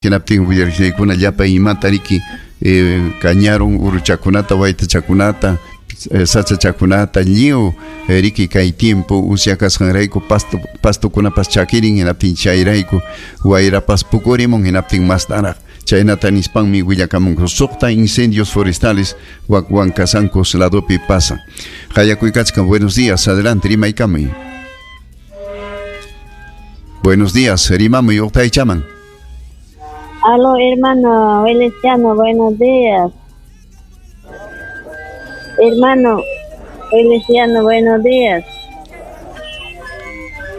Hinaptin willariqllaykuna llapa imata riki kañarun uruchakunata, waytachakunata, sachachakunata lliw riki kay tiempo usya kasqanrayku pasto pastokunapas chakirin hinaptin chayrayku wayrapas pukurimun hinaptin mastaraq chaynata nispanmi willakamunku suqta incendios forestales wak Huancasancos ladopi pasan. Qayakuykachkan, buenos días, adelante, rimaykamuy. Buenos días, rimamuy uqtaychaman. Aló, hermano Feliciano, buenos días. Hermano Feliciano, buenos días.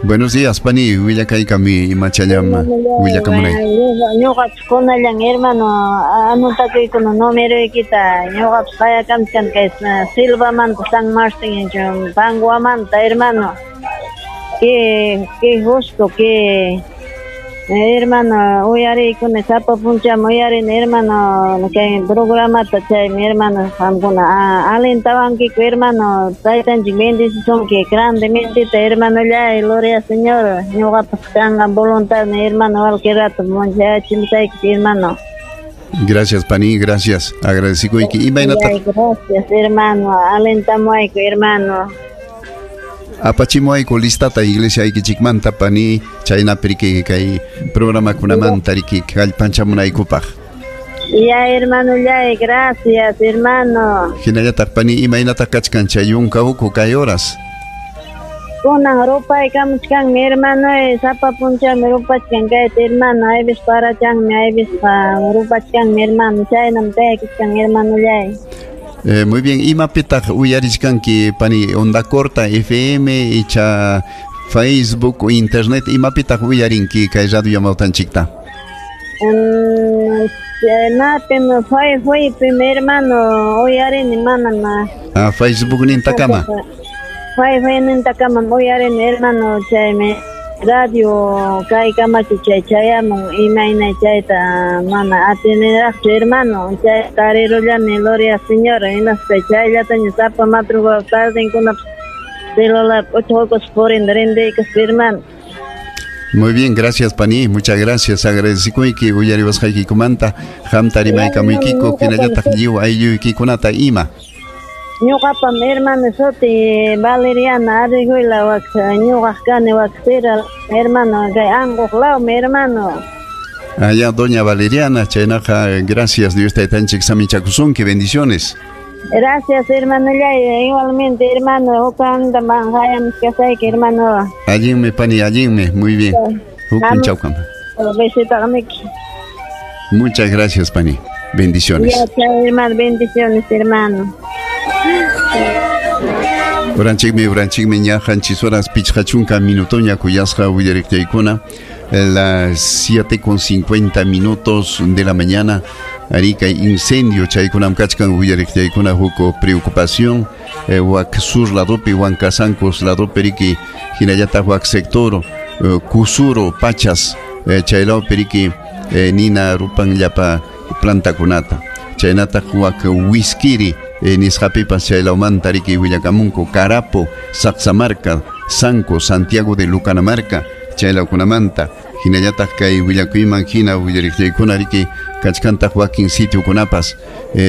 Buenos días, pani, willakaykami imachallam willakamunay. Ñuqapas kunallan, hermano, anotakuykuna numeroykita, ñuqapas qayakamchkan kay Silvamanta, San Martín, Panguamanta, hermano. Qué gusto, qué hermano, uyariykuna sapa punchawmi uyarini, hermano, kay programata chaymi, hermano, qamkuna alentawankiku, hermano, taytanchik bendecisunki grandemente, hermanollay, gloria Señor, ñuqapas kanqa voluntad, hermano, cualquier rato munchayachimsayki, hermano. Gracias, pani, gracias. Agradecikuyki. Imaynataq? Gracias, hermano, alentamuayku, hermano. Apachimuayku listata iglesia aykichikmanta, pani, chaynapi riki kay programakunamanta riki kallpanchamunaykupaq. Ya, hermanollay, gracias, hermano. Hinallataq, pani, imaynataq kachkan chay yunka uku kay horas? Kunan rupaykamuchkanmi, hermano, sapa punchawmi rupachkan kayta, hermano, aypis parachanmi, aypis rupachkanmi, hermano, chaynam tayakachkan, hermanollay. Muy bien, imapitaq uyarichkanki, pani, onda corta, FM, icha Facebook o internet, imapitaq uyarinki kay radio yamawtanchikta? Napim, Facebookpim, hermano, uyarini, manam. Ah, Facebook nintakama. Facebooknintakamam uyarini, hermano, chaymi radio kay kamachi chay chayamun imayna chayta mana atiniraqchu, hermano, chay tarirullani, gloria Señor, hinaspa chayllataña sapa madrugada tardenkunapas celular uchuqus purin rindiykus, hermano. Muy bien, gracias, pani, muchas gracias. Agradecikuyki uyariwasqaykikumanta, qamta rimaykamuykiku, hinallataq lliw aylluykikunata ima. Ñuqapam, hermano, suti Valeriana Arrigüela, wak ñuqaq kani wak Sira, hermano, kay Anquq lawmi, hermano. Allá, doña Valeriana, chaynaqa, gracias, Dios taytanchik samichakusunki, bendiciones. Gracias, hermano, igualmente, hermano, hukanda hayamchkasayki, hermano. Allinmi, pani, allinmi, muy bien. Huk punchawkama. Besitamiki. Muchas gracias, pani. Bendiciones. Ya, hermano, bendiciones, hermano. Uranchikmi ña qanchis horas pichqa chunka minutoña kuyasqa willariqtaykuna, las 7:50 de la mañana. Arica incendio chaykunam kachkan willariqtaykuna huk preocupación wak sur ladopi Huancasancos ladopi riki hinallataq wak sector Kusuro Pachas chaylawpi riki nina rupan llapa plantakunata chaynataq wak Wiskiri nisqapipas chaylawmanta riki willakamunku Carapo, Saqsamarca, Sanco, Santiago de Lucanamarca chaylawkunamanta hinallataq kay willakuyman hina willariqllaykuna riki kachkantaq wakin sitiokunapas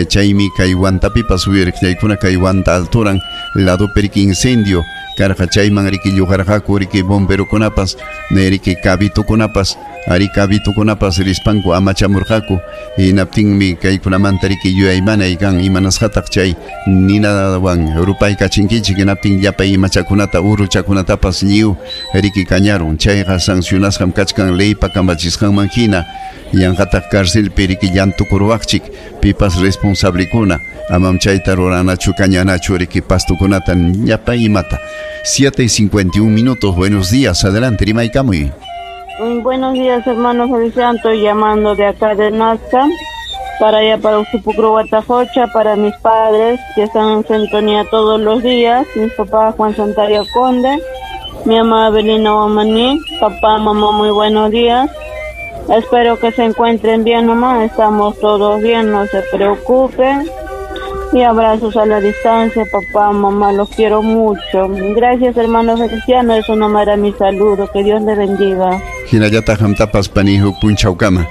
chaymi kay Huantapipas willariqllaykuna kay Huanta alturan ladopi riki incendio karqa chayman riki lluqarqaku riki bomberokunapas riki cabitukunapas ari cabitukunapas rispanku amachamurqaku hinaptinmi kaykunamanta riki yuyaymanay kan imanasqataq chay ninawan rupaykachinkichik hinaptin llapa imachakunata uruchakunatapas lliw riki kañarun chayqa sancionasqam kachkan leypa kamachisqanman hina yanqataq carcelpi riki llantukuruwaqchik pipas responsablikuna amam chayta ruranachu kañanachu riki pastukunata llapa imata. 7:51, buenos días, adelante, rimaykamuy. Buenos días, hermano Feliciano, estoy llamando de acá de Nazca, para allá para Uxupucru, Huatajocha, para mis padres que están en sintonía todos los días, mis papás Juan Santario Conde, mi mamá Abelina Guamaní, papá, mamá, muy buenos días. Espero que se encuentren bien nomás, estamos todos bien, no se preocupen. Y abrazos a la distancia, papá, mamá, los quiero mucho. Gracias, hermano Feliciano, eso nomás era mi saludo, que Dios le bendiga. Hinallataq qamtapas pani huk punchawkama.